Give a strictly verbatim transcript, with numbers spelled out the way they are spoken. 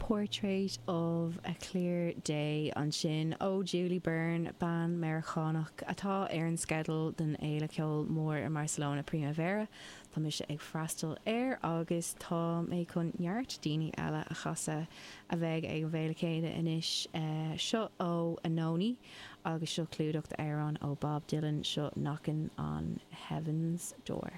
Portrait of a Clear Day ansin ó Julie Byrne, bean Meiriceánach atá ar an sceideal don fhéile ceoil mór i mBarcelona Primavera. Tá mise ag freastal air agus tá mé chun neart daoine eile a chasadh a bheidh ag an bhféile céanna anois seo ó Anohni agus seo clúdach d'amhrán ó Bob Dylan seo Knockin' on Heaven's Door.